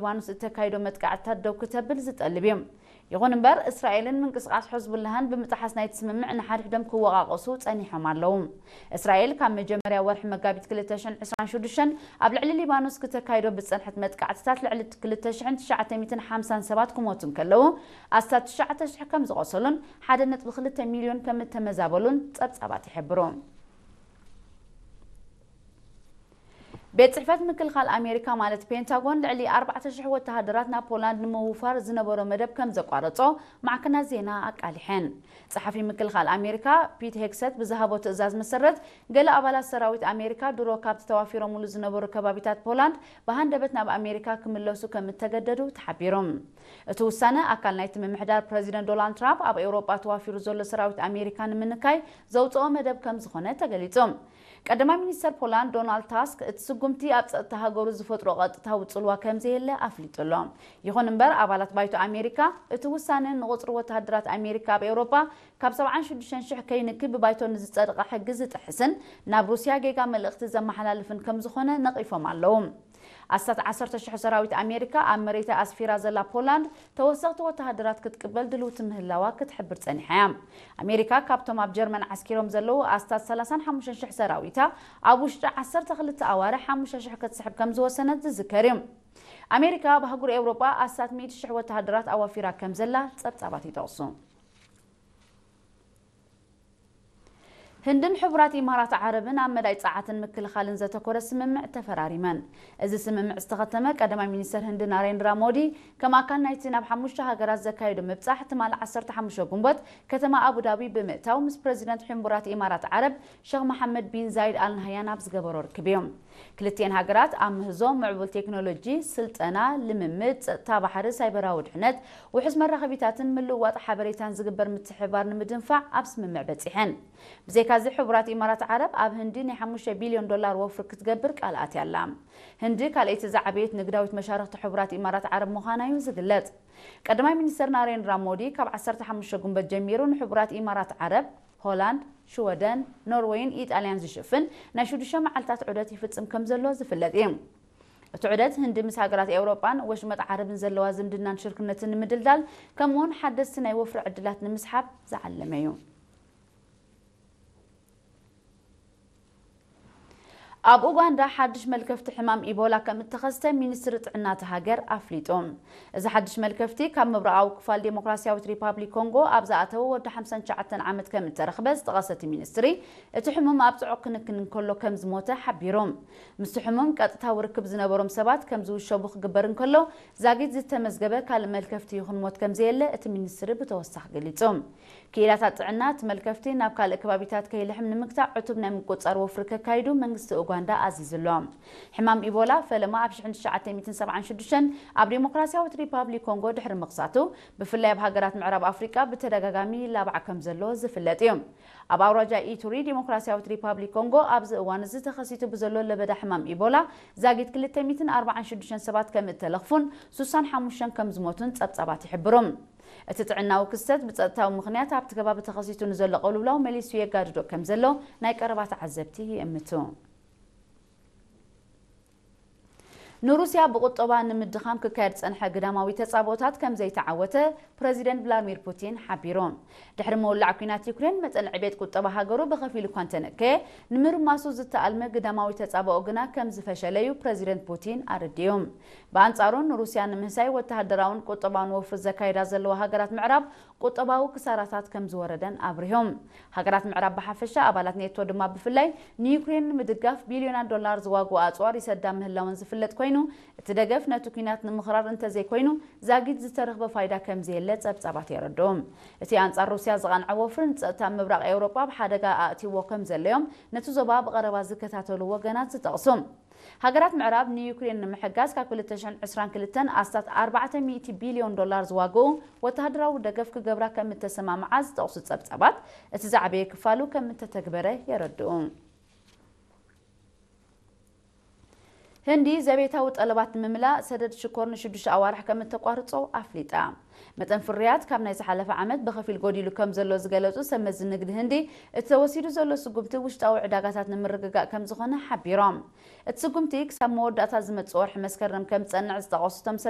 ሊባኖስ እተካይዶ መጥቃዕትታት ደው ክተብል ዝጠልብ እዩ። ይኹን እምበር፣ እስራኤልን ምንቅስቓስ ሕዝቡላህን ብምጥሓስ ናይቲ ስምምዕ ንሓድሕዶም ክወቓቐሱ ጸኒሖም ኣለዉ። እስራኤል ካብ መጀመርያ ወርሒ መጋቢት ክልተ ሽሕን ዕስራን ሽዱሽተን ኣብ ልዕሊ ሊባኖስ ክተካይዶ ብዝጸንሐት መጥቃዕትታት ልዕሊ ክልተ ሽሕን ትሽዓተ ሚእትን ሓምሳን ሰባት ክሞቱ እንከለዉ፣ ኣስታት ትሽዓተ ሽሕ ከም ዝቖሰሉን ሓደ ነጥቢ ክልተ ሚልዮን ከም እተመዛበሉን ጸብጻባት ይሕብሩ። ቤት ጽሕፈት ምክልኻል ኣሜሪካ ማለት ፔንታጎን ልዕሊ ኣርባዕተ ሽሕ ወተሃደራት ናብ ፖላንድ ንምውፋር ዝነበሮ መደብ ከም ዘቋረጾ ማዕከናት ዜና ኣቃሊሐን። ጸሓፊ ምክልኻል ኣሜሪካ ፒት ሄግሰት ብዝሃቦ ትእዛዝ መሰረት፣ ገለ ኣባላት ሰራዊት ኣሜሪካ ድሮ ካብቲ ተዋፊሮምሉ ዝነበሩ ከባቢታት ፖላንድ ብሃንደበት ናብ ኣሜሪካ ክምለሱ ከም እተገደዱ ተሓቢሩ። እቲ ውሳነ ኣካል ናይቲ ምምሕዳር ፕረዚደንት ዶናልድ ትራምፕ ኣብ ኤውሮጳ ተዋፊሩ ዘሎ ሰራዊት ኣሜሪካ ንምንካይ ዘውጽኦ መደብ ከም ዝኾነ ተገሊጹ። ቀዳማይ ሚኒስተር ፖላንድ ዶናልድ ታስክ፣ እቲ ስጉምቲ ኣብ ጸጥታ ሃገሩ ዝፈጥሮ ቀጥታዊ ጽልዋ ከም ዘየለ ኣፍሊጡ ኣሎ። ይኹን እምበር፣ ኣባላት ባይቶ ኣሜሪካ፣ እቲ ውሳነ ንቑጽሪ ወተሃደራት ኣሜሪካ ኣብ ኤውሮጳ ካብ ሰብዓን ሽዱሽተን ሽሕ ከይንኪ ብባይቶ ንዝጸደቐ ሕጊ ዝጥሕስን ናብ ሩስያ ጌጋ መልእኽቲ ዘመሓላልፍን ከም ዝኾነ ነቒፎም ኣለዉ። ኣስታት ዓሰርተ ሽሕ ሰራዊት ኣሜሪካ ኣብ መሬታ ኣስፊራ ዘላ ፖላንድ ተወሰኽቲ ወተሃደራት ክትቅበል ድልውቲ ምህላዋ ክትሕብር ጸኒሓ እያ። ኣሜሪካ ካብቶም ኣብ ጀርመን ዓስኪሮም ዘለዉ ኣስታት ሰላሳን ሓሙሽተን ሽሕ ሰራዊታ ኣብ ውሽጢ ዓሰርተ ክልተ ኣዋርሕ ሓሙሽተ ሽሕ ክትስሕብ ከም ዝወሰነት ዝዝከር እዩ። ኣሜሪካ ኣብ ኣህጉር ኤውሮጳ ኣስታት ሚእቲ ሽሕ ወተሃደራት ኣዋፊራ ከም ዘላ ጸብጻባት ይጠቕሱ። ህንድን ሕቡራት ኢማራት ዓረብን ኣብ መዳይ ጸዓትን ምክልኻልን ዘተኮረ ስምምዕ ተፈራሪመን። እዚ ስምምዕ ዝተኸተመ ቀዳማይ ሚኒስተር ህንዲ ናሬንድራ ሞዲ ከም ኣካል ናይቲ ናብ ሓሙሽተ ሃገራት ዘካየዶ ምብጻሕ ትማል ዓሰርተ ሓሙሽተ ጉንበት ከተማ ኣቡዳቢ ብምእታው ምስ ፕረዚደንት ሕቡራት ኢማራት ዓረብ ሸኽ መሓመድ ቢን ዛይድ ኣል ናህያን ኣብ ዝገበሮ ርክብ እዩ። ክልቲኤን ሃገራት ኣብ ምህዞ ምዕቡል ቴክኖሎጂ፣ ስልጠና፣ ልምምድ፣ ጸጥታ ባሕሪ፣ ሳይበራዊ ድሕነት፣ ውሑስ መራኸቢታትን ምልውዋጥ ሓበሬታን ዝግበር ምትሕብባር ንምድንፋዕ ኣብ ስምምዕ በጺሐን። ብዘይካዚ፣ ሕቡራት ኢማራት ዓረብ ኣብ ህንዲ ናይ ሓሙሽተ ቢልዮን ዶላር ወፍሪ ክትገብር ቃል ኣትያ ኣላ። ህንዲ ካልኣይቲ ዝዓበየት ንግዳዊት መሻርኽቲ ሕቡራት ኢማራት ዓረብ ምዃና እዩ ዝግለጽ። ቀዳማይ ሚኒስተር ናሬንድራ ሞዲ ካብ ዓሰርተ ሓሙሽተ ጉንበት ጀሚሩ ንሕቡራት ኢማራት ዓረብ፣ ሆላንድ፣ ሽወደን፣ ኖርወይን ኢጣልያን ዝሽፍን ናይ ሽዱሽተ መዓልታት ዑደት ይፍጽም ከም ዘሎ ዝፍለጥ እዩ። እቲ ዑደት ህንዲ ምስ ሃገራት ኤውሮጳን ወሽመጥ ዓረብን ዘለዋ ዝምድናን ሽርክነትን ንምድልዳል፣ ከምኡውን ሓደስቲ ናይ ወፍሪ ዕድላት ንምስሓብ ዝዓለመ እዩ። ኣብ ኡጋንዳ ሓድሽ መልከፍቲ ሕማም ኢቦላ ከም እተኸስተ ሚኒስትሪ ጥዕና እታ ሃገር ኣፍሊጡ። እዚ ሓድሽ መልከፍቲ ካብ ምብራቓዊ ክፋል ዴሞክራሲያዊት ሪፓብሊክ ኮንጎ ኣብ ዝኣተወ ወዲ ሓምሳን ትሽዓተን ዓመት ከም እተረኽበ ዝጠቐሰ እቲ ሚኒስትሪ፣ እቲ ሕሙም ኣብ ጽዑቕ ክንክን እንከሎ ከም ዝሞተ ሓቢሩ። ምስቲ ሕሙም ቀጥታዊ ርክብ ዝነበሮም ሰባት ከም ዝውሸቡ ክግበር እንከሎ፣ ዛጊት ዝተመዝገበ ካልእ መልከፍቲ ይኹን ሞት ከም ዘየለ እቲ ሚኒስትሪ ብተወሳኺ ገሊጹ። ክኢላታት ጥዕና፣ እቲ መልከፍቲ ናብ ካልእ ከባቢታት ከይልሕም ንምግታእ ዕቱብ ናይ ምቁጽጻር ወፍሪ ከካይዱ መንግስቲ ኡጋንዳ ኣዚዙ ኣሎ። ሕማም ኢቦላ ፈለማ ኣብ ሽሕን ትሽዓተ ሚእትን ሰብዓን ሽዱሽተን ኣብ ዴሞክራሲያዊት ሪፓብሊክ ኮንጎ ድሕሪ ምኽሳቱ፣ ብፍላይ ኣብ ሃገራት ምዕራብ ኣፍሪቃ ብተደጋጋሚ ይላባዕ ከም ዘሎ ዝፍለጥ እዩ። ኣብ ኣውራጃ ኢቱሪ ዴሞክራሲያዊት ሪፓብሊክ ኮንጎ ኣብዚ እዋን እዚ ተኸሲቱ ብዘሎ ለበዳ ሕማም ኢቦላ ዛጊት ክልተ ሚእትን ኣርባዓን ሽዱሽተን ሰባት ከም እተለኽፉን ሱሳን ሓሙሽተን ከም ዝሞቱን ጸብጻባት ይሕብሩ። እቲ ጥዕናዊ ክስተት ብጸጥታዊ ምኽንያት ኣብቲ ከባቢ ተኸሲቱ ንዘሎ ቅልውላው መሊሱ የጋድዶ ከም ዘሎ ናይ ቀረባ ተዓዘብቲ ይእምቱ። ንሩስያ ብቁጠባ ንምድኻም ክካየድ ዝጸንሐ ግዳማዊ ተጻብኦታት ከም ዘይተዓወተ ፕረዚደንት ቭላድሚር ፑቲን ሓቢሩ። ድሕሪ ምውላዕ ኲናት ዩክሬን፣ መጠን ዕቤት ቁጠባ ሃገሩ ብኸፊል እኳ እንተነከየ፣ ንምርማሱ ዝተኣልመ ግዳማዊ ተጻብኦ ግና ከም ዝፈሸለ እዩ ፕረዚደንት ፑቲን ኣረዲኡ። ብኣንጻሩ፣ ንሩስያ ንምህሳይ ወተሃደራውን ቁጠባውን ወፍሪ ዘካይዳ ዘለዋ ሃገራት ምዕራብ ቁጠባዊ ክሳራታት ከም ዝወረደን ኣብሪሆም። ሃገራት ምዕራብ ብሓፈሻ፣ ኣባላት ኔቶ ድማ ብፍላይ፣ ንዩክሬን ንምድጋፍ ቢልዮናት ዶላር ዝዋግኡ ኣጽዋር ይሰዳ ምህላወን ዝፍለጥ ኮይኑ፣ እቲ ደገፍ ነቲ ኲናት ንምኽራር እንተዘይኮይኑ፣ ዛጊት ዝተረኽበ ፋይዳ ከም ዘየለ ጸብጻባት የረድኡ። እቲ ኣንጻር ሩስያ ዝቐንዐ ወፍሪ፣ ንጸጥታ ምብራቕ ኤውሮጳ ኣብ ሓደጋ ኣእትይዎ ከም ዘለዮም ነቲ ዞባ ብቐረባ ዝከታተሉ ወገናት ዝጠቕሱ። ሃገራት ምዕራብ ንዩክሬን ንምሕጋዝ ካብ ክልተ ሽሕን ዕስራን ክልተን ኣስታት ኣርባዕተ ሚእቲ ቢልዮን ዶላር ዝዋግኡ ወተሃደራዊ ደገፍ ክገብራ ከም እተሰማምዓ ዝጠቕሱ ጸብጻባት፣ እቲ ዝዓበየ ክፋሉ ከም እተተግበረ የረድኡ። ህንዲ ዘቤታዊ ጠለባት ንምምላእ ሰደድ ሽኮር ንሽዱሽተ ኣዋርሕ ከም እተቋርጾ ኣፍሊጣ። መጠን ፍርያት ካብ ናይ ዝሓለፈ ዓመት ብኸፊል ጎዲሉ ከም ዘሎ ዝገለጹ ሰብ መዚ ንግዲ ህንዲ፣ እቲ ተወሲዱ ዘሎ ስጉምቲ ውሽጣዊ ዕዳጋታት ንምርግጋእ ከም ዝኾነ ሓቢሮም። እቲ ስጉምቲ ክሳብ መወዳእታ ዝመጽእ ወርሒ መስከረም ከም ዝጸንዕ ዝጠቐሱ እቶም ሰብ